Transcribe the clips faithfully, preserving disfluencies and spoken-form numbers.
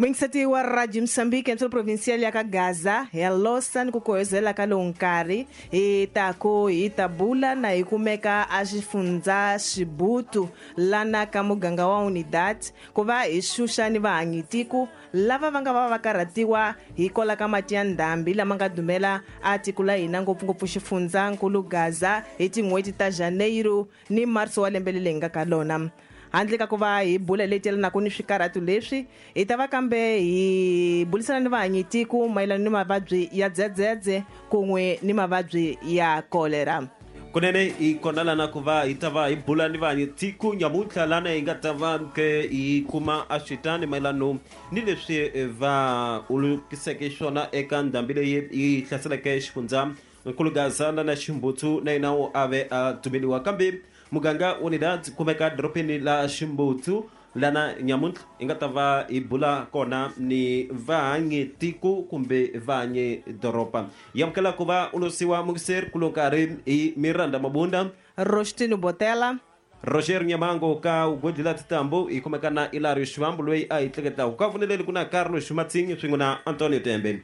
Muingiseti wa Radio Mozambique entro provincial ya ka Gaza hi losa ni ku koyozela ka lowu nkarhi hi ta ku hi ta bula na hi kumeka a xifundza Xibutu lana ka muganga wa Unidad ku va hi xuxa ni vahanyitiku lava va nga va va karhatiwa hi kola ka mati ya ndhambi lama nga dumela a tiko la hina ngopfungopfu xifundza nkulu Gaza hi tin'hweti ta Janeiro ni Marso wa lembe leri nga ka lona. Handle ka ku va hi bula leyi yelanaka ni swikarhatu leswi hi ta va kambe hi bulisana ni vahanyitiku mayelana ni mavabyi ya dzedzedze kun'we ni mavabyi ya kolera. Kunene hi kona lana ku va hi ta va hi bula ni vahanyitiku nyamuntlha lana hi nga ta va ke hi kuma a switani mayelano ni leswi va ulukiseke xona eka ndhambi leyi yi hlaseleke xifundza nkulu Gaza na Ximbutsu na yena a ve a dumeliwa kambe muganga Unidad kumeka doropeni la Ximbutsu lana nyamuntlha hi nga ta va hi bula kona ni vahanyi tiko kumbe vahanyi doropa. Yamukela ku va ulosiwa mukiseri kulo nkarhi hi Miranda Mabunda, Rostino Botela, Roger Nyamango ka Ugodila Titambo hi kumeka na Ilario Xivambu loyi a hi tleketaka ka voneleli ku na Carlos Xumatsinyi swin'we na Antonio Tembe.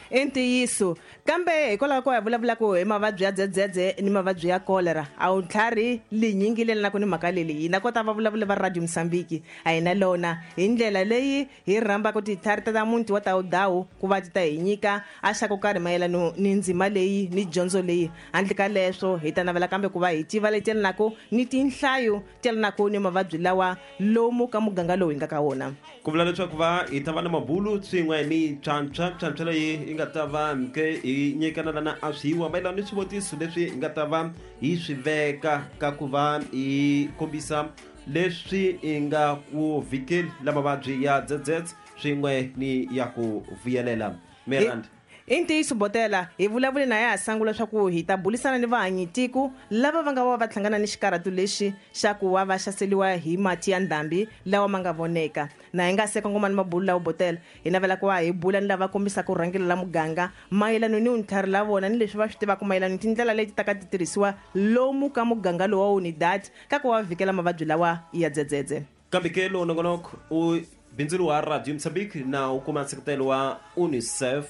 I ntiyiso kambe hikwalaho ko hi vulavulaka hi mavabyi ya dzedzedze ni mavabyi ya kolera a wu ntlhari linyingi lelanaka ni mhaka leyi hina kota va vulavula va Radio Mozambique a hi na lona hi ndlela leyi hi rhambaka titlhari ta muti wa Tawudawu ku va ti ta hi nyika a xa ko karhi mayelano ni ndzima leyi ni dyondzo leyi. Handle ka leswo hi ta navela kambe ku va hi tiva leti yelanaka ni tinhlayo ti yelanaka ni mavabyi lawa lomu ka muganga lowu hi nga ka wona. Ku vula leswaku va hi ta va na mabulu swin'we ni pyanpya pyanpya leyi nga ta va ke hi nyikana lana a swiwa mayelana ni swivutiso leswi hi nga ta va hi swi veka ka ku va hi kombisa leswi hi nga ku vhikeli la mavabyi ya dzedzedze swin'we ni ya ku vuyelela. Miranda, i ntiyiso Botela hi vulavule na ya ha sangula leswaku hi ta bulisana ni vahanyitiku lava va nga va va hlangana ni xikarhatu lexi xa ku va va xaseliwa hi mati ya ndhambi lawa ma nga voneka. Na hi nga se kongoma ni mabulu lawa Botela hi navela ku va hi bula ni lava kombisaka rhangelo la muganga mayelano ni ntlhari la vona ni leswi va swi tivaka mayelano ni tindlela leti ta ka ti tirhisiwa lomu ka muganga lowa Unidad ka ku va vhikela mavabyi lawa ya dzedzedze. Kambe ke lowu nongonoko u bindzulu wa Radio Mozambique na u kuma nseketelo wa UNICEF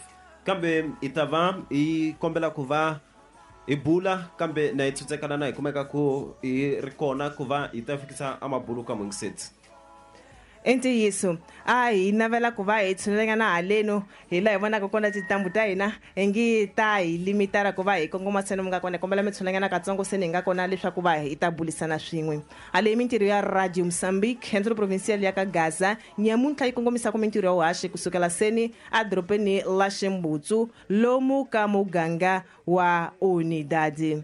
kambe hi ta va hi kombela ku va hi bula kambe na hi tsutsekana na hi kumeka ku hi ri kona ku va hi ta fikisa amabulu ka mungiseti. I ntiyiso a hi navela ku va hi tshunelanyana haleno hi laha hi vonaka kona tintambu ta hina hi ngi ta hi limitara ku va hi kongoma seni mi nga kona kombela mi tshunelanyana katsongo seni hi nga kona leswaku va hi ta bulisana swin'we. Hale mintirho ya Radio Mozambique entro provincial ya ka Gaza nyamuntlha yi kongomisaka mintirho ya vuhaxi kusukela seni a doropeni la Ximbutsu lomu ka muganga wa Unidad.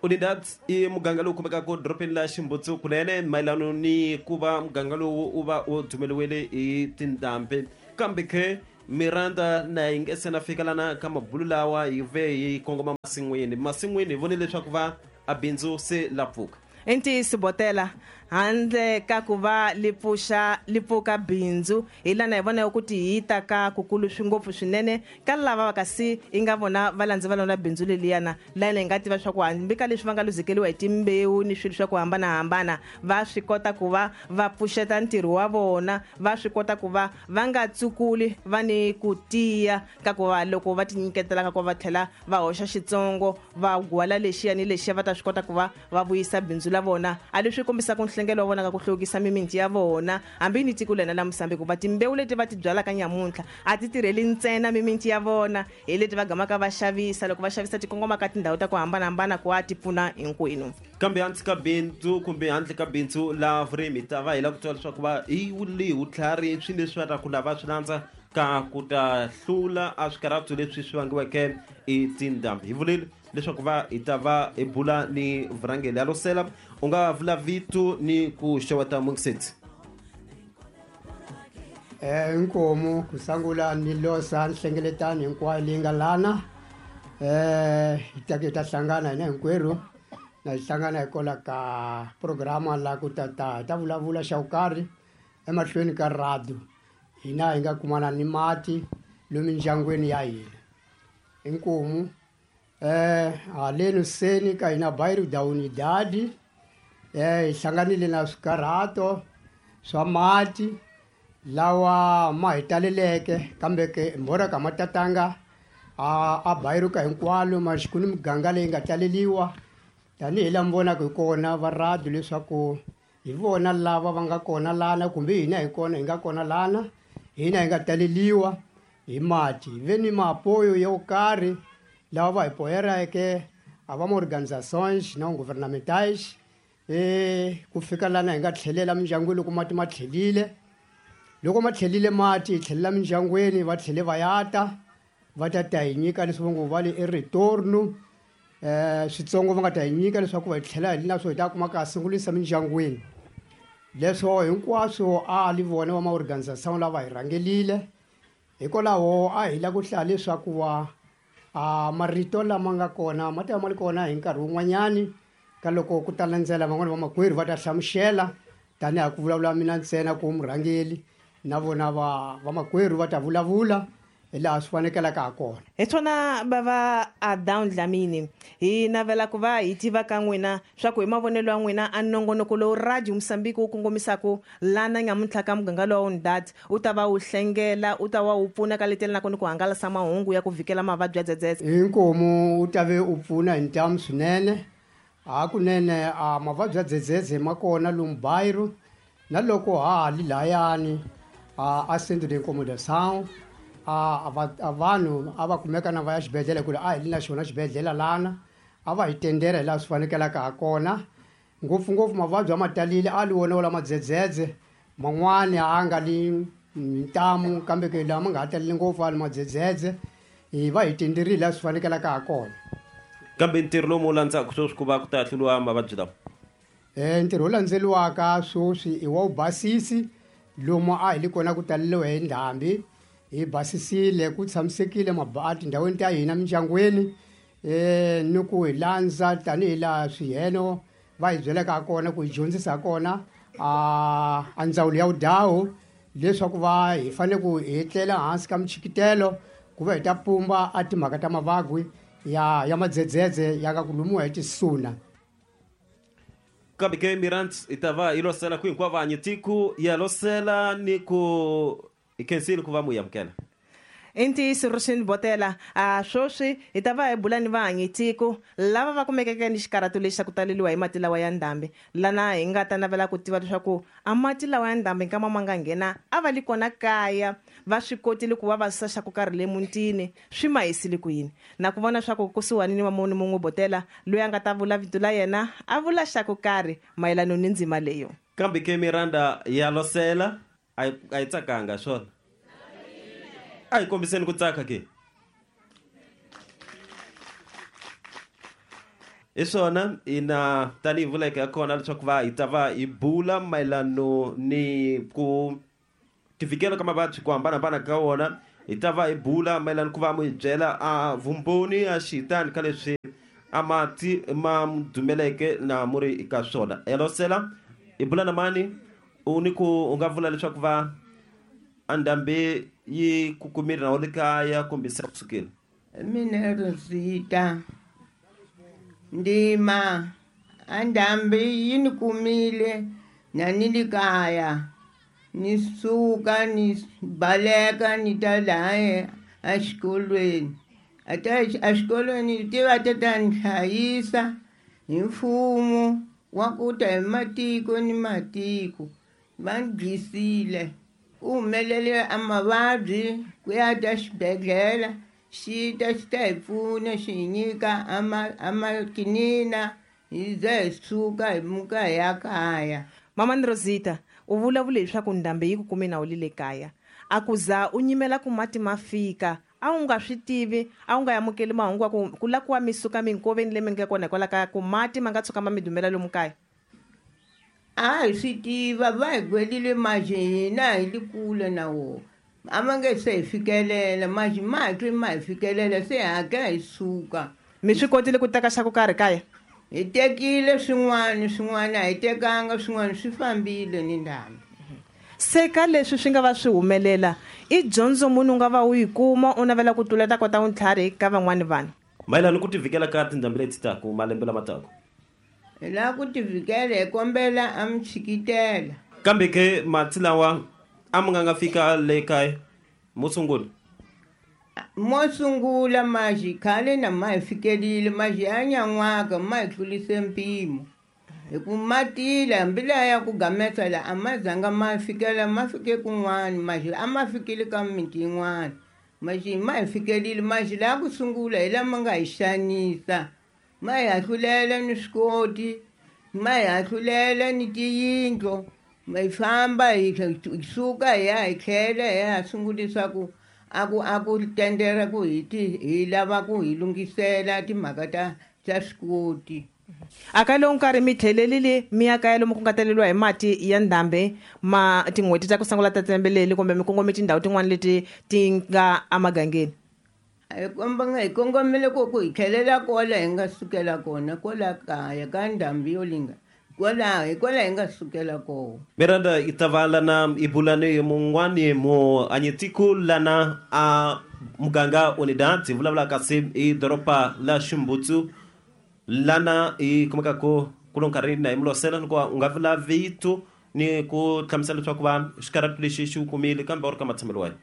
Unidad i muganga lowu kumekaka doropeni la Ximbutsu kunene mayelano ni ku va muganga lowu u va u dumeliwele hi tindhambi kambe ke Miranda na hi nge se na fika lana ka mabulu lawa hi ve hi kongoma masin'wini masin'wini hi vonile leswaku va a bindzu se la pfuka. I ntiyiso Botela handle ka ku va li pfuxa li pfuka bindzu hi lana hi vona ku tihita ka kukulu swi ngopfu swinene ka lava va kasi i nga vona va landza va lona bindzu leliyana lana hi nga tiva swa ku hambi ka leswi va nga luzekeliwa hi timbewu ni swilo swa ku hambanahambana va swi kota ku va va pfuxeta ntirho wa vona va swi kota ku va va nga tsukuli va ni ku tiya ka ku va loko va tinyiketela ka ku va tlhela va hoxa xitsongo va gwala lexiya ni lexiya va ta swi kota ku va va vuyisa bindzu la vona a leswi kombisaka nhlengelo wa vona ka ku hluvukisa mimiti ya vona hambi ni tiko lena la Mozambique va timbewu leti va ti byalaka nyamuntlha a ti tirheli ntsena mimiti ya vona hi leti va gamaka va xavisa loko va xavisa ti kongoma ka tindhawu ta ku hambanahambana ku va ti pfuna hinkwenu. Kambe handle ka bindzu kumbe handle ka bindzu la vurimi ta va hi lava ku twa leswaku va hi wuli vutlhari swi leswi va ta ku lava swi landza ka ku ta hlula a swikarhatu leswi swi vangiweke i tindhambi. Hi vulile leswaku va hi ta va hi bula ni vurhangeri ya losela u nga vula vito ni ku xeweta mungiseti. Eh inkomo kusangula ni losa nhlengeletano hinkwayo leyi nga lana eh hi ta ke ta hlangana hina hinkwerhu na hi hlangana hikwalaho ka programa la ku ta ta ta vulavula xa ku karhi emahlweni ka radio hina hi nga kumana ni mati lomu mindyangwini ya hina. Inkomu eh haleno seni ka hina bairro da Unidad eh hi hlanganile na swikarhato swa mati Lawa ma hi taleleke kambe ke mbora ka matatanga a a bayiruka hinkwalo ma xikuni miganga leyi nga taleliwa tanihi laha mi vonaka hi kona va radio leswaku hi vona lava va nga kona lana kumbe hina hi kona hi nga kona lana hina hi nga taleliwa hi mati hi ve ni maapoyo yo karhi lava va hi poyereke a va ma-organizations non gouvernementales e ku fika lana hi nga tlhelela mindyangwini loko mati ma tlhelile loko ma tlhelile mati hi tlhelela mindyangwini va tlhele va ya ta va ta ta hi nyika leswi va ngo va le i retorno um switsongo va nga ta hi nyika leswaku va hi tlhela hi na swo hi ta kuma ka sungulisa mindyangwini leswo hinkwaswo a li vona va ma-organization lava hi rhangelile hikwalaho a hi la ku hlaya leswaku wa a marito lama nga kona ma ta va ma ri kona hi nkarhi wun'wanyani ka loko ku ta landzela van'wani vamakwerhu va ta hlamusela tanihi a ku vulavula mina ntsena ku murhangeli na vona va vamakwerhu va ta vulavula hi laha swi fanekelaka ha kona. Hi swona bava Adown Dlamini hi navela ku va hi tiva ka n'wina swa ku hi mavonelo ya n'wina a nongonoko lowu Radio Mozambique wu kongomisaka lana nyamuntlha ka muganga lowu Unidad wu ta va wu hlengela wu ta va wu pfuna ka letela na kona ku hangalasa mahungu ya ku vhikela mavabyi ya dzedzedze. Inkomu wu ta ve u pfuna hi ntamu swinene hakunene a mavabyi ya dzedzedze ma kona lomu Bairro na loko ha ha li layani a a centro de incomodação a a vanhu a va kumeka na va ya xibedhlele ku ri a hi li na xona xibedhlele lana a va hi tendera hi laha swi fanekelaka ha kona ngopfungopfu mavabyi a ma talile a li wona wo lama dzedzedze man'wani a nga li ntamu kambe ke lama nga ha taleli ngopfu a li madzedzedze hi va hi tenderile laha swi fanekelaka ha kona. Kambe ntirho lowu mu landzaka sweswi ku va ku ta hluriwa mavabyi lawa? Um ntirho wu landzeliwaka sweswi i wa wu basisi lomu a hi li kona ku taleliwa hi ndhambi hi basisile ku tshamisekile a tindhawini ta hina mindyangwini um ni ku hi landza tanihi laha swiheno va hi byelaka ha kona ku hi dyondzisa ha kona a a ndzawulo ya vudhawu leswaku va hi fanele ku hi etlela hansi ka michikitelo ku va hi ta pumba a timhaka ta mavabyi ya ya madzedzedze ya nga ku lumiwa hi tisuna. Kambe ke Mirant hi ta va hi losela ku hinkwavo vanyi tiko ya losela ni ku hi khensile ku va mu amukela. I ntiyiso Roshin Botela a sweswi hi ta va hi bula ni vahanyi tiko lava va kumekeke ni xikarhato lexi xa ku taleliwa hi mati lawa ya ndhambi lana hi nga ta navela ku tiva leswaku a mati lawa ya ndhambi nkama ma nga nghena a va li kona kaya va swi kotile ku va va susa xa ku karhi le mutini swi ma hisile ku yini na ku vona swa ku kusuhani ni wa munhu mun'we Botela loyi a nga ta vula vito la yena a vula xa ku karhi mayelana ni ndzima leyo. Kambe ke Miranda ya losela a yi tsakanga swona a hi kombiseni ku tsaka ke hi swona ina tanihi vuleke ya kona leswaku va hi ta va hi bula mayelano ni ku tivikela ka mavabyi ku hambanahambana ka wona hi ta va hi bula mayelano ku va mu hi byela a vumbhoni a xitani ka leswi a mati ma dumeleke na mu ri ka swona. Yalosela hi bula na mani u ni ku u nga vula leswaku va a ndhambi yi ku kumile na u le kaya kumbe se kusukile? Mina Rosita ndima a ndhambi yi ni kumile na ni le kaya ni suka ni baleka ni ta laha exikolweni a ta exikolweni ti va ta ta ni hlayisa hi mfumo wa ku ta hi matiko ni matiko va ni dyisile ku humelele a mavabyi ku ya ta xibedhlele xi ta xi ta hi pfuna xi hi nyika a makinina hi za hi suka hi muka hi ya kaya. Mama Rosita u vulavule leswaku ndhambi yi ku kume na u li le kaya a ku za u nyimela ku mati ma fika a wu nga swi tivi a wu nga amukeli mahungu ya ku ku la ku wa mi suka minkoveni leyi mi nga kona hikwalaho ka ku mati ma nga tshuka ma mi dumela lomu kaya? A hi swi tiva va hi gwelile mati hina hi li kule na wona a ma nge se hi fikelela mati ma hatli ma hi fikelela se hakela hi suka. Mi swi kotile ku teka xa ku karhi kaya? Hi tekile swin'wana swin'wana a hi tekanga swin'wana swi fambile ni ndhambi. Se ka leswi swi nga va swi humelela i dyondzo munhu u nga va u yi kuma u navela ku tluleta kota vuntlhari ka van'wani vanhu mayelana ku tivikela ka tindhambi leti taku malembe lama taku? Hi lava ku tivikela hi kombela a mi tshikitela. Kambe ke mati lawa A mi nga nga fika le kaya mo sungula? Mo sungula maxi khale na ma hi fikelile maxi ya nyan'waka ma hi tlulise mpimo hi ku ma tile hambi laha ya ku gamesa la a ma zanga ma fikela ma fike kun'wana maxi a ma fikile ka miti yin'wana maxi ma hi fikelile maxi laha ku sungula hi lama nga hi xanisa ma hi hahlulela ni swikoti ma hi hahlulela ni tiyindlo ma hi famba hi suka hi ya hi tlhela hi ya sungulisa ku a ku a ku tendera ku hi ti hi lava ku hi lunghisela timhaka ta ta swikoti. A ka lowu nkarhi mi tlhelelile mi ya kaya lomu ku nga taleriwa hi mati ya ndhambi ma tin'hweti ta ku sungula ta lembe leri kumbe mi kongome tindhawu tin'wana leti ti nga emagangeni? Hi komba hi kongomile ku ku hi tlhelela kwala hi nga sukela kona kwala kaya ka ndhambi yo linga kwala hi kwala hi nga sukela kona. Miranda i ta va lana i bulani mun'wani mu anyetiku lana a muganga Unidad hi vulavula kasi i doroba la Ximbutsu lana i kumekaka ku lo nkarhi na hi mulosela ni ku u nga vula vito ni ku hlamusela leswaku va xikarhatu lexi xi wu kumile kambe u ri ka matshamelo wahi?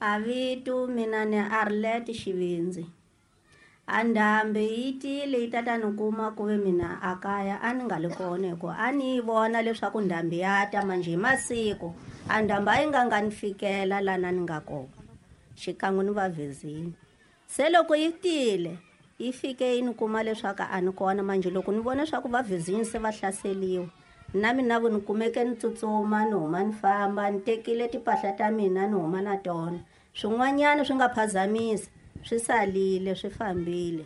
A vito mina ni Arlet Xivindzi. A ndhambi yi tile yi tata ni kuma ku ve mina a kaya a ni nga li kona hi ku a ni yi vona leswaku ndhambi ya ta manjhe hi masiku a ndhambi a yi nga nga ni fikela lana ni nga kona xikan'we ni va vezini. Se loko yi tile yi fike yi ni kuma leswaku a ni kona manjhe loko ni vona leswaku va vezini se va hlaseliwa na mina vo ni kumeke ni tsutsuma ni huma ni famba ni tekile timpahla ta mina ni huma na tona swin'wanyana swi nga phazamisa swi salile swi fambile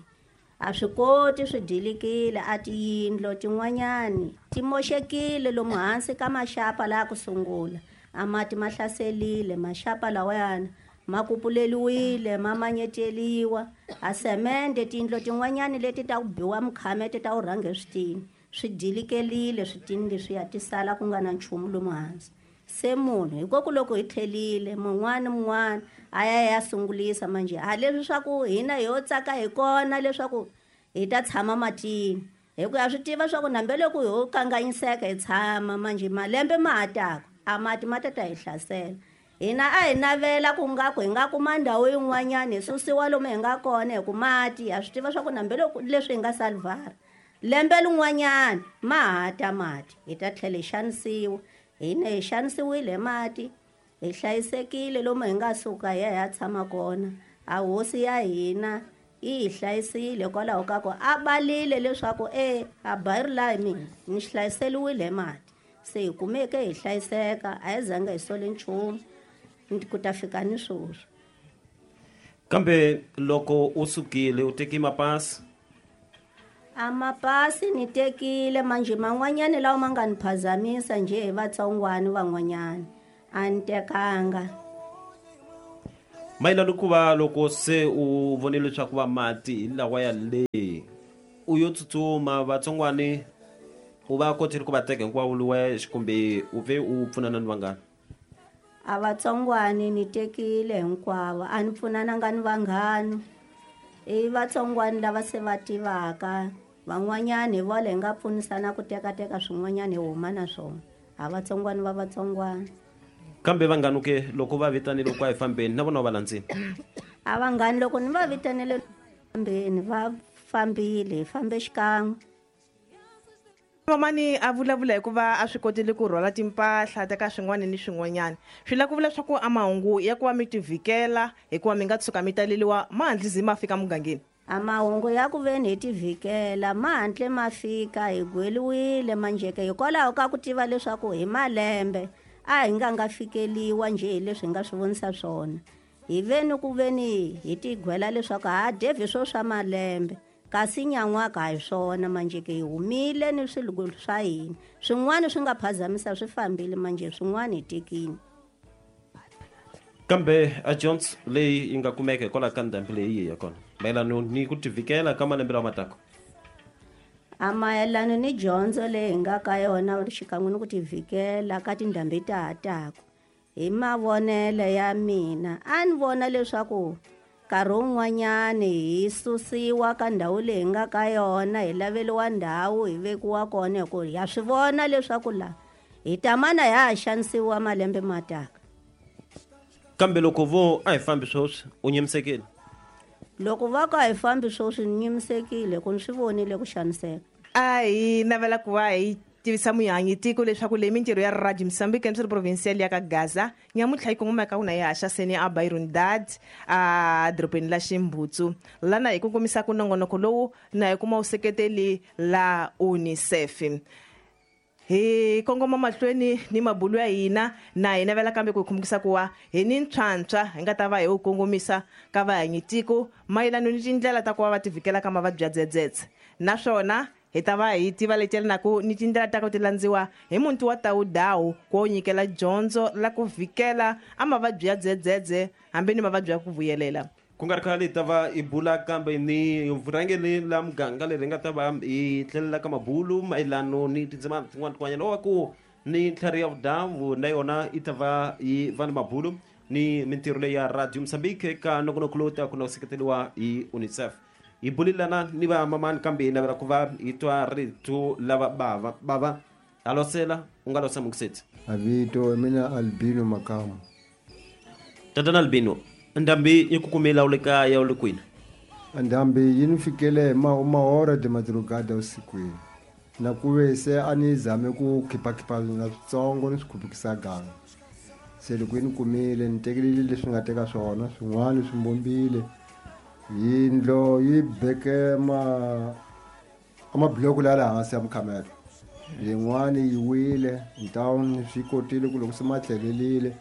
a swi koti swi dilikile a tiyindlo tin'wanyani ti moxekile lomu hansi ka maxapa laha ku sungula a mati ma hlaselile maxapa lawayana ma kupuleliwile ma manyeteliwa a semende tiyindlo tin'wanyani leti ta ku biwa mukhamete ta ku rhanga eswitini swi dilikelile switini leswiya ti sala ku nga na nchumu lomu hansi. Se munhu hikoku loko hi tlhelile mun'wana mun'wana a ya ya sungulisa manjhe a leswi swa ku hina ho tsaka hi kona leswaku hi ta tshama matini hi ku ya swi tiva swa ku nambe loko ho kanganyiseka hi tshama manjhe malembe ma ha taka a mati ma ta ta hi hlasela. Hina a hi navela ku nga ku hi nga kuma ndhawu yin'wanyana hi susiwa lomu hi nga kona hi ku mati ha swi tiva swa ku nambe loko leswi hi nga salvara lembe lin'wanyana ma ha ta mati hi ta tlhela hi xanisiwa. Hina hi xanisiwile hi mati hi hlayisekile lomu hi nga suka hi ya hi ya tshama kona a hosi ya hina yi hi hlayisile hikwalaho ka ku a balile leswaku e a bayiri laha hi mina ni hlayiseliwile hi mati se hi kumeke hi hlayiseka a hi zanga hi sole nchumu ku ta fika ni sweswi. Kambe loko u sukile u teke mapasi? A mapasi ni tekile manjhe man'wanyani lawa ma nga ni phazamisa njhe hi vatsongwani van'wanyani a ni tekanga. Mayelana ku va loko se u vonile leswaku va mati hi lawa ya le u yo tsutsuma vatsongwani u va kotile ku va teka hinkwavo luwa kumbe u ve u pfunana ni vanghana? A vatsongwani ni tekile hinkwavo a ni pfunananga ni vanghana i vatsongwani lava se va tivaka van'wanyani hi vona hi nga pfunisana ku tekateka swin'wanyani hi huma na swona a vatsongwani va vatsongwani. Kambe vanghana ke loko va vitanile ku a hi fambeni na vona va landzile? A vanghani loko ni va vitanile fambeni va fambile hi fambe xikan'we. Mamani a vulavula hikuva a swi kotile ku rhwala timpahla ta ka swin'wana ni swin'wanyana swi lava ku vula swa ku a mahungu ya ku va mi tivhikela hikuva mi nga tshuka mi taleliwa ma hantlisi ma fika mugangeni. A mahungu ya ku veni hi tivhikela ma hantle ma fika hi gweliwile manjheke hikwalaho ka ku tiva leswaku hi malembe a hi nga nga fikeliwa njhe hi leswi hi nga swi vonisa swona hi veni ku veni hi tigwela leswaku ha devhi swo swa malembe kasi nyan'waka hi swona manjhe ke hi humile ni swilo swa hina swin'wana swi nga phazamisa swi fambile manjhe swin'wana hi tekile. Kambe a Jones leyi yi nga kumeka hikwalaho ka ndhambi leyi ya kona mayelana ni ku tivhikela ka malembe lawa mataka? A mayelana ni dyondzo leyi hi nga ka yona xikan'we ni ku tivhikela ka tindhambi ta ha taka hi mavonelo ya mina a ni vona leswaku nkarhi wun'wanyani hi susiwa ka ndhawu leyi hi nga ka yona hi laveliwa ndhawu hi vekiwa kona hi ku ha swi vona leswaku laha Hi ta mana ya ha xanisiwa malembe ma taka. Kambe loko vo a hi fambi sweswi u nyimisekile? Loko va ku a hi fambi sweswi ni nyimisekile ku ni swi vonile ku xaniseka. A hi navela ku va hi tivisa muyangi tiko leswaku leyi mintirho ya Radio Mozambique emsiri provincial ya ka Gaza nyamuntlha yi kongomaka kuna yi haxa seni a Bairundad a dorobeni la Ximbutsu lana hi kongomisaka nongonoko lowu na hi kuma useketeli la UNICEF. Hi kongoma mahlweni ni mabulu ya hina na hi navela kambe ku khumukisa ku wa hi ni ntlhantlha hi nga ta va hi wu kongomisa ka vahanyi tiko mayelana ni tindlela ta ku va va tivikela ka mavabyi ya dzedzedze naswona hi ta va hi tiva letela na ku ni tindlela ta ku ti landziwa hi muti wa Tawudawu ku nyikela dyondzo la ku vikela a mavabyi ya dzedzedze hambi ni mavabyi ya ku vuyelela. Ku nga ri khale hi ta va hi bula kambe ni vurhangeri la muganga leri nga ta va hi tlhelela ka mabulu mayelano ni tindzimana tin'wana tin'wanyana wa ku ni ntlhari ya vudawu na yona yi ta va yi va ni mabulu ni mintirho leyi ya Radio Mozambique eka nongonoko lowu taka na ku seketeriwa hi UNICEF. Hi bulelana ni va mamani kambe hi navela ku va hi twa rito lava bava bava alosela u nga losa mukiseti. Avito mina Albino Makamu. Tatana Albino, ndhambi yi ku kumela u le kaya u le kwini? Ndhambi yi ni fikele ma mahora de madrugada usikwini na ku ve se a ni zame ku khipakhipha na switsongo ni swi khupukisa ganga se loko yi ni kumile ni tekelile leswi nga teka swona swin'wana swi mbombile yindlo yi beke ma amabuloko la le hansi ya mukhamelo yin'wani yi wile ntawuni swi kotile ku loko se ma tlhelelile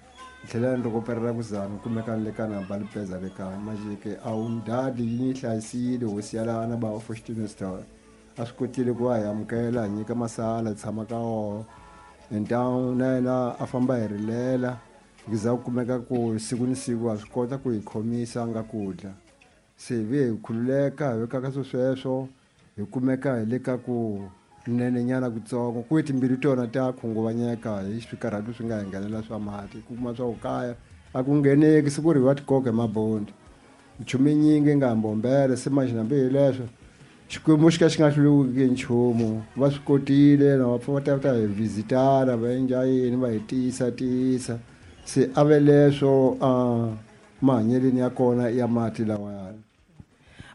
tlhela ni rikoperera ku zama kumeka ni le ka namba lipeza le kaya majike a wu ndadi yi ni hlayisile hosi ya lana ba Fortune Store a swi kotile ku va hi amukela hi nyika masala hi tshama ka wona ntawu na yena a famba hi rilela hi za ku kumeka ku siku ni siku a swi kota ku hi khomisa a nga ku dla se ve hi khululeka hi veka ka swo sweswo hi kumeka hi le ka ku nenenyana kutsongo ku timbilu tona ta khunguvanyeka hi swikarhatu swi nga hi nghenela swa mati ku kuma swa ku kaya a ku ngheneki siku ri va tikoka hi mabondi nchumu yinyingi nga mbombele se manje hambi hi leswo Xikwembu xi ka xi nga hluleki nchumu va swi kotile na va pfa va ta ta hi vhizitana va endla yini va hi tiyisa tiyisa se a ve leswo a mahanyeleni ya kona ya mati lawayani.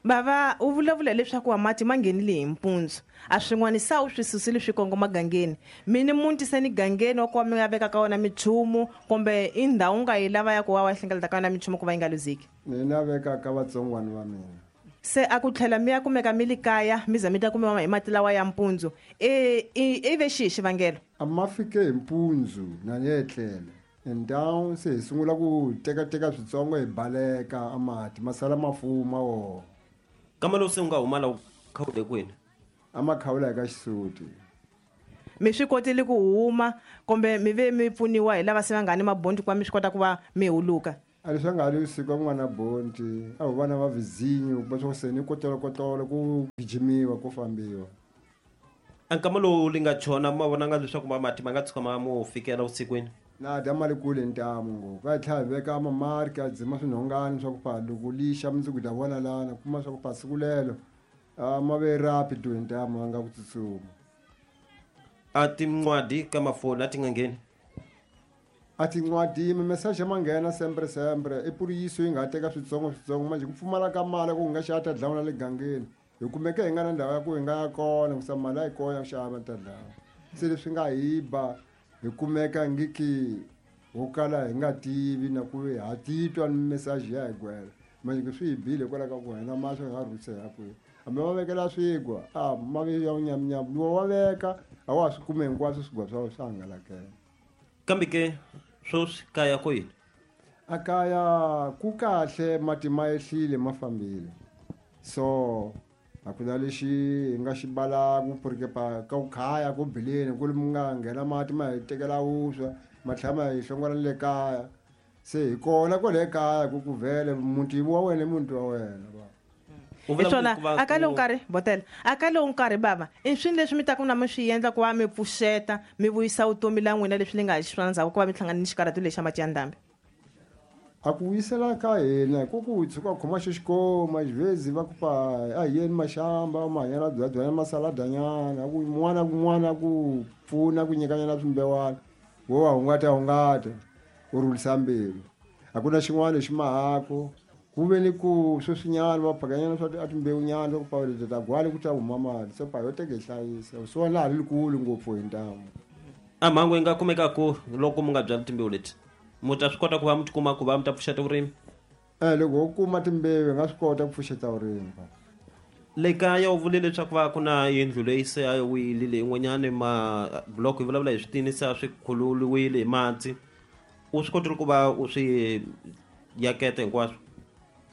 Bava u vulavula leswaku wa mati ma nghenile hi mpundzu a swin'wana sa u swi susile swi kongoma gangeni mi ni muti se ni gangeni wa ku va mi nga veka ka wona minchumu kumbe i ndhawu nga yi lava ya ku va wa hlengeleta ka yona minchumu ku va yi nga luzeki? Ni na veka ka vatsongwana va mina. Se a ku tlhela mi ya kumeka mi li kaya mi za mi ta kumiwa hi mati lawa ya mpundzu e i ve xihi xivangelo? A ma fike hi mpundzu na ni etlele ndhawu se hi sungula ku tekateka switsongo hi baleka a mati ma sala ma fuma wona. Kama lowu se u nga huma la u khawule kwini? A ma khawula hi ka xisuti. Mi swi kotile ku huma kumbe mi ve mi pfuniwa hi lava se va nga ni mabondi ku va mi swi kota ku va mi huluka? A leswi nga ri siku ku nga na bondi a ho vana va vizinyo ku va swa se ni kotolokotolo ku gijimiwa ku fambiwa. A nkama lowu li nga chona ma vonanga leswaku ma mati ma nga tshuka ma mo fikela vusikwini? Na dya mali kule ntamu ngopfu va tlhela hi veka mamarki a dzima swinhongani swa ku pa loko lixa mundzuku ta vona lana kuma swa ku pa siku lelo a ma ve rapido hi ntamu a nga ku tsutsuma. A tin'wadi ka mafoni a ti nga ngheni? A tin'wadi mimeseji ma nghena sempre sempre i puriyiso yi nga teka switsongo switsongo manje ku pfumala ka mali ku hi nga xava ta dlawa na le gangeni hi kumeke hi nga na ndhawu ya ku hi nga ya kona ku sa mali a yi kona ya ku xava ta dlawa se leswi nga hi ba hi kumeka ngiki ho kala hi nga tivi na ku ha titwa ni meseji ya hi gwela manje swi hi bile hikwalaho ka ku hina mahlo hi nga rhuse ya kwihi hambi va vekela swigwa a ma ve ya nyamnyam lowu wa veka a wa swi kume hinkwaswo swigwa swa swa hangalakela. Kambe ke sweswi kaya ko yini? A kaya ku kahle mati ma ehlile ma fambile so a ku na lexi hi nga xi balaku porque pa ka ku khaya ku bileni ku ri mi nga nghena mati ma hi tekela vuswa ma tlhela ma hi hlongola ni le kaya se hi kona kwale kaya ku ku vhele muti wa wena i muti wa wena va. Hi swona a ka lowu nkarhi botela a ka lowu nkarhi bava i swini leswi mi taka na mi swi endla ku va mi pfuxeta mi vuyisa vutomi la n'wina leswi ni nga hi xiswona ndzhaku ku va mi hlangana ni xikarhatu lexi xa mati ya ndhambi? A ku vuyisela ka hina ku ku tshuka khoma xo xikoma xivezi va ku pa a hi yeni maxamba mahanyana byabyana masaladanyana ku n'wana kun'wana ku pfuna ku nyikanyana swimbewana Wo wa hungata hungata u rhulisa mbilu. A ku na xin'wana lexi mahako ku ve ni ku sweswinyana va phakanyana swa a timbewunyana ku pawuleta ta gwali ku ta huma mali se pa yo teke hlayisa so laha ri kulu ngopfu hi ntamu. A mhangu yi nga kumekaku loko mu nga byali timbewu leti mu ta swi kota ku va mu tikuma ku va mu ta pfuxeta vurimi? Eh loko ho kuma timbewu hi nga swi kota ku pfuxeta vurimi. Le kaya u vule leswaku va ku na yindlu leyi se a yi wile leyin'wanyani mabloko hi vulavula hi switini se a swi khululiwile hi mati u swi kotile ku va u swi yaketa hinkwaswo?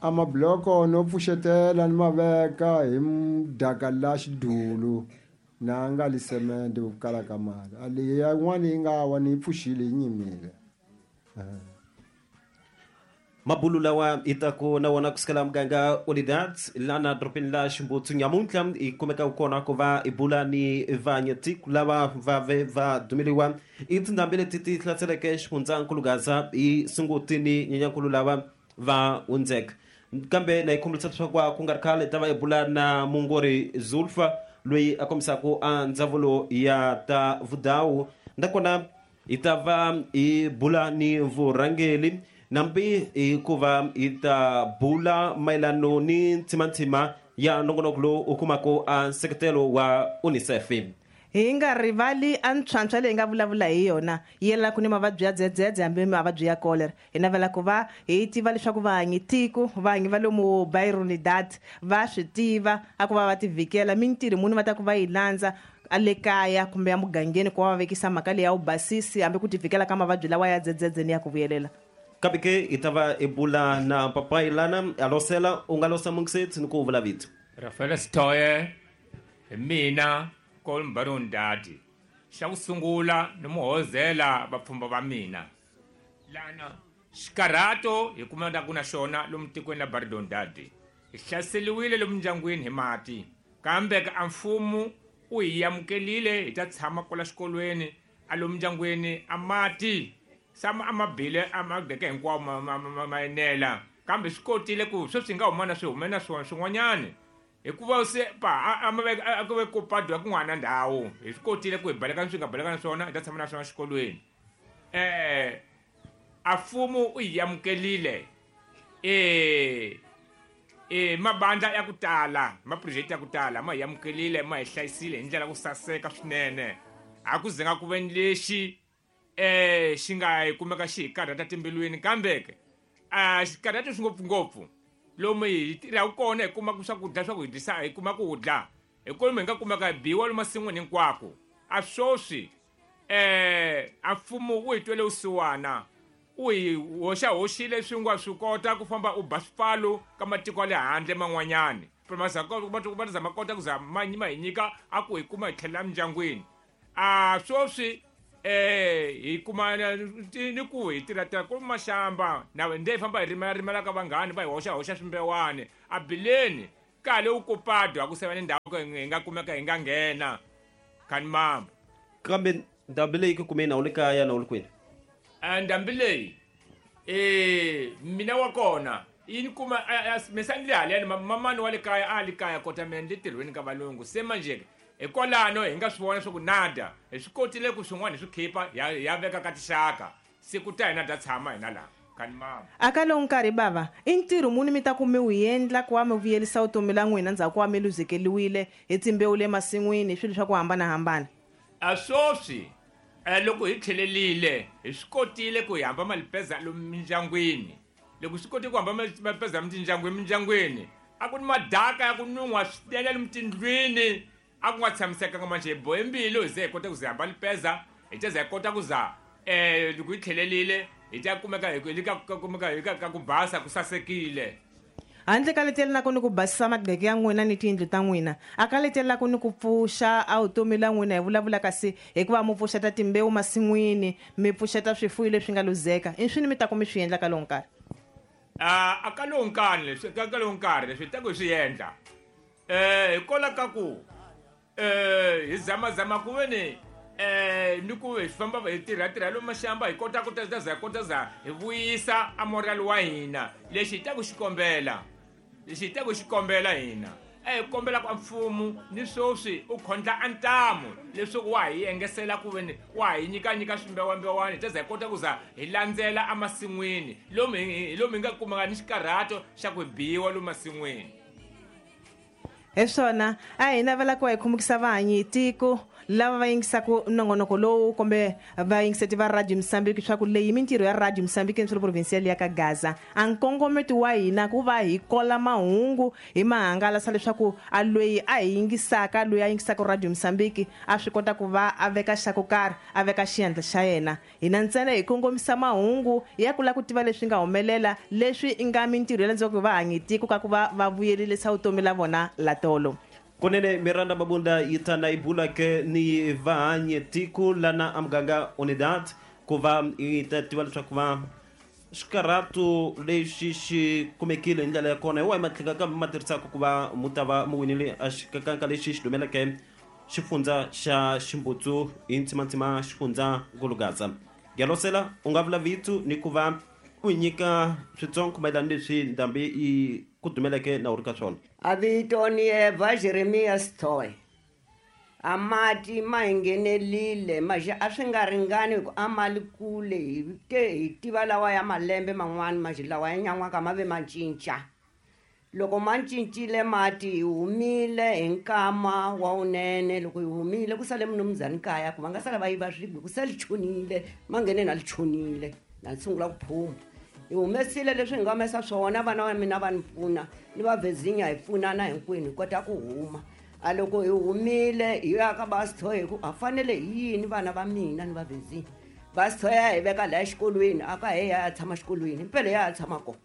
A mabloko no pfuxetela ni ma veka hi mudaka la xidulu na nga li semende ku kala ka mali a leyi yin'wana yi nga wa ni yi pfuxile yi nyimile. Mabulu lawa hi ta ku na wona kusukela muganga Olidat lana dorobeni la Ximbutsu nyamuntlha hi kumeka kona ku va hi bula ni vanyatiko lava va ve va dumeliwa i tindhambi leti ti hlaseleke xifundzankulu Gaza hi Sunguti ni Nyenyankulu lava va hundzeka. Kambe na hi khumbulisa leswaku ku nga ri khale ta va hi bula na mungori Zulfa loyi a kombisaka a ndzawulo ya ta vudawu nakona hi ta va hi bula ni vurhangeri nambi hikuva hi ta bula mayelano ni ntsimantsima ya nongonoko lowu u kumaka a nseketelo wa UNICEF. Hi nga rivali a ntlhantlha leyi nga vulavula hi yona yi yelaka ni mavabyi ya dzedzedze hambi mavabyi ya cholera. Hi navela ku va hi tiva leswaku vahanyi tiko vahanyi va lomu Byronidad va swi tiva a ku va va tivhikela mintirho muni va ta ku va yi landza a le kaya kumbe ya mugangeni ku va va vekisa mhaka leyi ya vubasisi hambi ku tivhikela ka mavabyi lawa ya dzedzedze ni ya ku vuyelela. Kambe ke hi ta va hi bula na papayi lana a losela u nga losa mungisetsi ni ku vula vito. Rafael Sitoye hi mina Kolmbarondadi. Xa ku sungula ni muhozela vapfhumba va mina lana xikarhato hi kumeka ku na xona lomu tikweni la Baridondadi. Hi hlaseriwile lomu ndyangwini hi mati kambe ka mfumo u hi amukelile hi ta tshama kwala xikolweni a lomu ndyangwini a mati sama a mabile a magdeke hinkwawo ma, ma, ma, ma enela kambe swi kotile ku sweswi hi nga huma na swi hume na swona swin'wanyani hikuva se pa a ma a ku ve ku padwa kun'wana ndhawu hi swi kotile ku hi baleka swi nga baleka na swona hi ta tshama na swona xikolweni. Eh a mfumo u hi amukelile eh eh mabandla ya ku tala maproject ya ku tala ma hi amukelile ma hi hlayisile hi ndlela ku saseka swinene a ku zenga ku ve ni lexi eh xi nga hi kumeka xi hi karhata timbilwini kambe ke a xi karhata swi ngopfungopfu lomu hi tirhaka kona hi kumaka swakudya swa ku hi dyisa hi kuma ku dya hi kolomu hi nga kumeka hi biwa lomu masin'wini hinkwako a swoswi eh a mfumo wu hi twele vusiwana u hi hoxa hoxile swi nga swi kota ku famba u ba swipfalo ka matiko ya le handle man'wanyani va zama kota ku za ma ma hi nyika a ku hi kuma hi tlhelela mindyangwini a swoswi eh hi kuma ni ku hi tirha tirha ku maxamba na nde hi famba hi rimela rimela ka vanghani va hi hoxa hoxa swimbewani a bileni kale u kupadwa ku seva ni ndhawu hi nga kumeka hi nga nghena khani mamba. Kambe ndhambi leyi ku kumeni a wu le kaya na u le kwini? A ndhambi leyi eh mina wa kona yi ni kuma misa ni le haleni mamani wa le kaya a le kaya kota mina ni le tirhweni ka valungu se manje hikwalano hi nga swi vona swa ku nada hi swi kotile ku swin'wana hi swi khipa ya ya veka ka tixaka siku ta hina ta tshama hina laha khani mama. A ka lowu nkarhi bava i ntirho muni mi ta ku mi wu endla ku va mi vuyelisa vutomi la n'wina ndzhaku ku va mi luzekeliwile hi timbewu le masin'wini hi swilo swa ku hambanahambana? A swoswi loko hi tlhelelile hi swi kotile ku hi hamba malipeza lomu mindyangwini loko swi kotile ku hamba malipeza mindyangwini mindyangwini a ku ni madaka ya ku nun'hwa swinene lomu tindlwini a ku nga tshamisekanga manje hi bohe mbilu hi ze hi kota ku ze hamba lipeza hi ta za hi kota ku za eh loko hi tlhelelile hi ta kumeka hi ka kumeka hi ka ku basa ku sasekile. Handle ka letelelaka ni ku basisa magqeke ya n'wina ni tiyindlu ta n'wina a ka letelelaka ni ku pfuxa a vutomi la n'wina hi vulavula kasi hikuva mi pfuxeta timbewu masin'wini mi pfuxeta swifuwo leswi nga luzeka i swini mi ta ku mi swi endla ka lowu nkarhi? A a ka lowu nkarhi leswi ka lowu nkarhi leswi hi ta ku hi swi endla eh hikwalaho ka ku eh hi zamazama ku ve ni eh ni ku hi famba hi tirha tirha lomu maxamba hi kota ku ta za hi kota za hi vuyisa a moral wa hina lexi hi ta ku xi kombela lexi hi ta ku xi kombela hina A hi kombela ku mfumo ni sweswi u khondla antamu leswaku wa hi engesela ku veni wa hi nyika nyika swimbewambewani hi ta za hi kota ku za hi landzela emasin'wini lomu hi lomu hi nga kumanga ni xikarhato xa ku biwa lomu masin'wini. Hi swona a hi navela ku va hi khumukisa vahanyi tiko lava va yingisaka nongonoko lowu kumbe va yingiseti va Radio Mozambique swa ku leyi mintirho ya Radio Mozambique nsolo provincial ya ka Gaza a nkongometo wa hina ku va hi kola mahungu hi mahangalasa leswaku a loyi a hi yingisaka loyi a yingisaka Radio Mozambique a swi kota ku va a veka xa ku karhi a veka xiendlo xa yena. Hina ntsena hi kongomisa mahungu ya ku lava ku tiva leswi nga humelela leswi i nga mintirho ya landzaka va hanyi tiko ka ku va va vuyelelisa vutomi la vona la tolo. Kunene Miranda Mabunda yitana ibula ke ni vahanye tiko lana amganga unidad ku va yi ta tiva leswaku va xikarhatu lexi xi kumekile hi ndlela ya kona hi wahi matlhelo kambe ma tirhisaka ku va mu ta va mu winile a xikakanka lexi xi dumeleke xifundza xa Ximbutsu hi ntsimantsima xifundza Ngulugaza. Galosela u nga vula vito ni ku va u nyika switsongo mayelana leswi ndhambi yi ku dumeleke na u ri ka swona. A vito ni Eva Jeremias Toy. A mati ma hi nghenelile maje a swi nga ringani hi ku a ma li kule hi te hi tiva lawa ya malembe man'wani maje lawa ya nyan'waka ma ve ma cinca. Loko ma cincile mati hi humile hi nkama wa wunene. Loko hi humile ku sale mnumzani kaya ku va nga sala va yiva swibye ku se li chonile ma nghene na li chonile na sungula ku phuma. Hi humesile leswi hi nga humesa swona vana va mina va ni pfuna ni va Vezinya hi pfunana hinkwenu hi kota ku huma. A loko hi humile hi ya ka Basithoya hi ku a fanele hi yini vana va mina ni va Vezinya. Basithoya hi veka laha xikolweni a ka he ya tshama xikolweni impela ya tshama kona.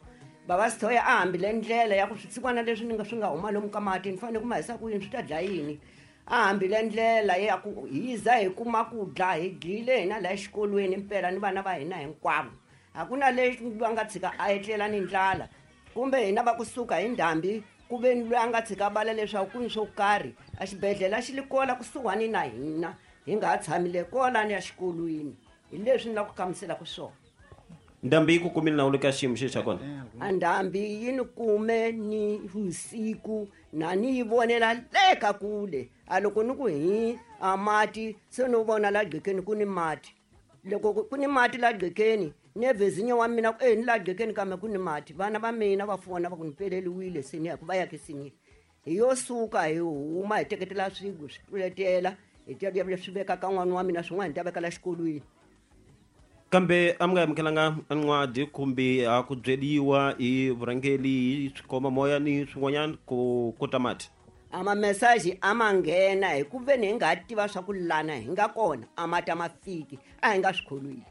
Va Basithoya a hambile ndlela ya ku switsikwana leswi ni nga swi nga huma lomu ka mati ni fanele ku ma hisa ku yini swi ta dlaya yini. A hambile ndlela ya ku hi za hi kuma ku dla hi dlile hina laha xikolweni impela ni vana va hina hinkwavo. Hakuna lexi va nga tshika a etlela ni ndlala kumbe hina va kusuka hi ndhambi ku ve ni loyi a nga tshika bala leswaku ku ni swo karhi a xibedhlele xi li kola kusuhani na hina hi nga ha tshamile kolani ya xikolweni. Hi leswi ni lava ku hlamuselaka swona. Ndhambi yi ku kumile na u le ka xiyimo xexi xa kona? A ndhambi yi ni kume ni vusiku na ni yi vonela le ka kule. A loko ni ku hi a mati se no vona la gqekeni ku ni mati. Loko ku ni mati la gqekeni ni Vezinya wa mina ku e ni la gqekeni kambe ku ni mati. Vana va mina va fona va ku ni peleliwile senior ku va ya ke senior. Hi yo suka hi huma hi teketela swigwe swi tluletela hi ta ya swi veka ka n'wana wa mina swin'wana hi ta veka la xikolweni. Kambe a mi nga amukelanga ncwadi kumbe a ku byeriwa hi vurhangeri hi swikomba moya ni swin'wanyana ku kota mati? A ma message a ma nghena hi ku veni hi nga tiva swa ku lana hi nga kona a mati a ma fiki a hi nga swi kholwile.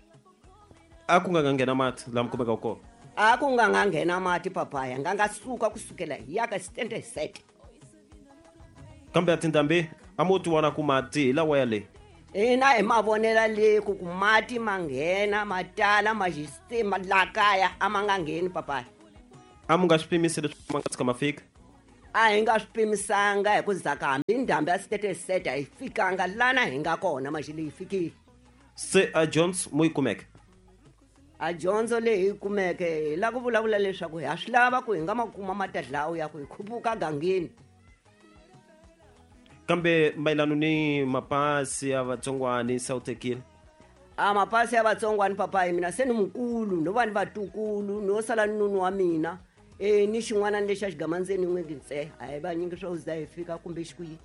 A ku nga nga nghena mati laha mi kumekaka kona? A ku nga nga nghena mati papaya nga nga suka kusukela hi ya ka standard set. Kambe a tindhambi a mo ti vona ku mati hi lawa ya le? Hina hi mavonela le ku ku mati ma nghena ma tala ma xistima la kaya a ma nga ngheni papaya. A mu nga swi pimisi leswaku ma nga tshika ma fika? A hi nga swi pimisanga hi ku zaka hambi ndhambi ya standard set a yi fikanga lana hi nga kona maxi leyi fikile. Se a Jones mo yi kumeke? A dyondzo leyi hi kumeke hi lava ku vulavula leswaku ha swi lava ku hi nga ma kuma matadlawu ya ku hi khupuka gangeni. Kambe mayelana ni mapasi ya vatsongwani se wu tekile? A mapasi ya vatsongwani papayi mina se ni mukulu no va ni vatukulu no sala ni nunu wa mina e ni xin'wana lexi a xigamandzeni n'wingi ntse a hi vanyingi swo za hi fika kumbe xikwihi.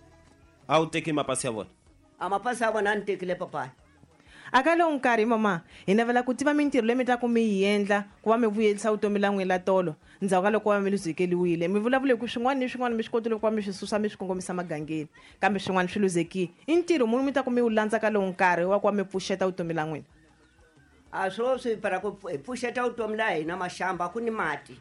A wu teki mapasi ya vona? A mapasi ya vona a ni tekile papayi. A ka lowu nkarhi mama hi navela ku tiva mintirho leyi mi ta ku mi yi endla ku va mi vuyelisa vutomi la n'wina la tolo ndzhaku ka loko va mi luzekeliwile. Mi vulavule ku swin'wana ni swin'wana mi swi kotile ku va mi swi susa mi swi kongomisa magangeni kambe swin'wana swi luzekile. I ntirho muni mi ta ku mi wu landza ka lowu nkarhi wa ku va mi pfuxeta vutomi la n'wina? A swo swi para ku hi pfuxeta vutomi la hina maxamba ku ni mati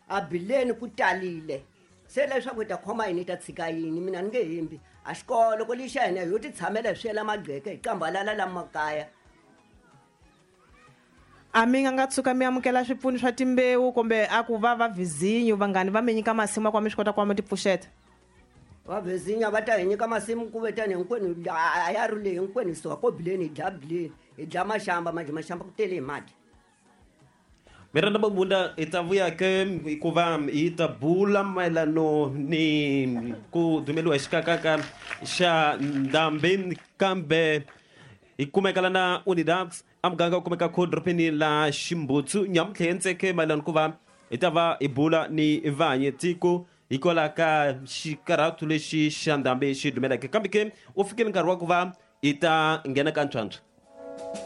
a bileni ku talile se leswaku hi ta khoma yini hi ta tshika yini mina ni nge hembi. A xikolo ko lexa hina hi yo ti tshamela hi swela magqeke hi qambalala la makaya. A mi nga nga tshuka mi amukela swipfuno swa timbewu kumbe a ku va va Vizinyo vanghani va mi nyika masimu ya ku va mi swi kota ku va mi ti pfuxeta? Va Vizinya va ta hi nyika masimu ku ve tani hinkwenu a ya ri leyi hinkwenu hi suka ko bileni hi dla bileni hi dla maxamba manjhe maxamba ku tele hi mati. Miranda Mabunda hi ta vuya ke hikuva hi ta bula mayelano ni ku dumeliwa hi xikakaka xa ndhambi kambe hi kumeka lana Unidax a muganga wu kumeka ko doropeni la Ximbutsu nyamuntlha yentseke mayelano ku va hi ta va hi bula ni vanyi tiko hikwalaho ka xikarhatu lexi xa ndhambi xi dumeleke kambe ke u fikile nkarhi wa ku va hi ta nghena ka ntlhantlho.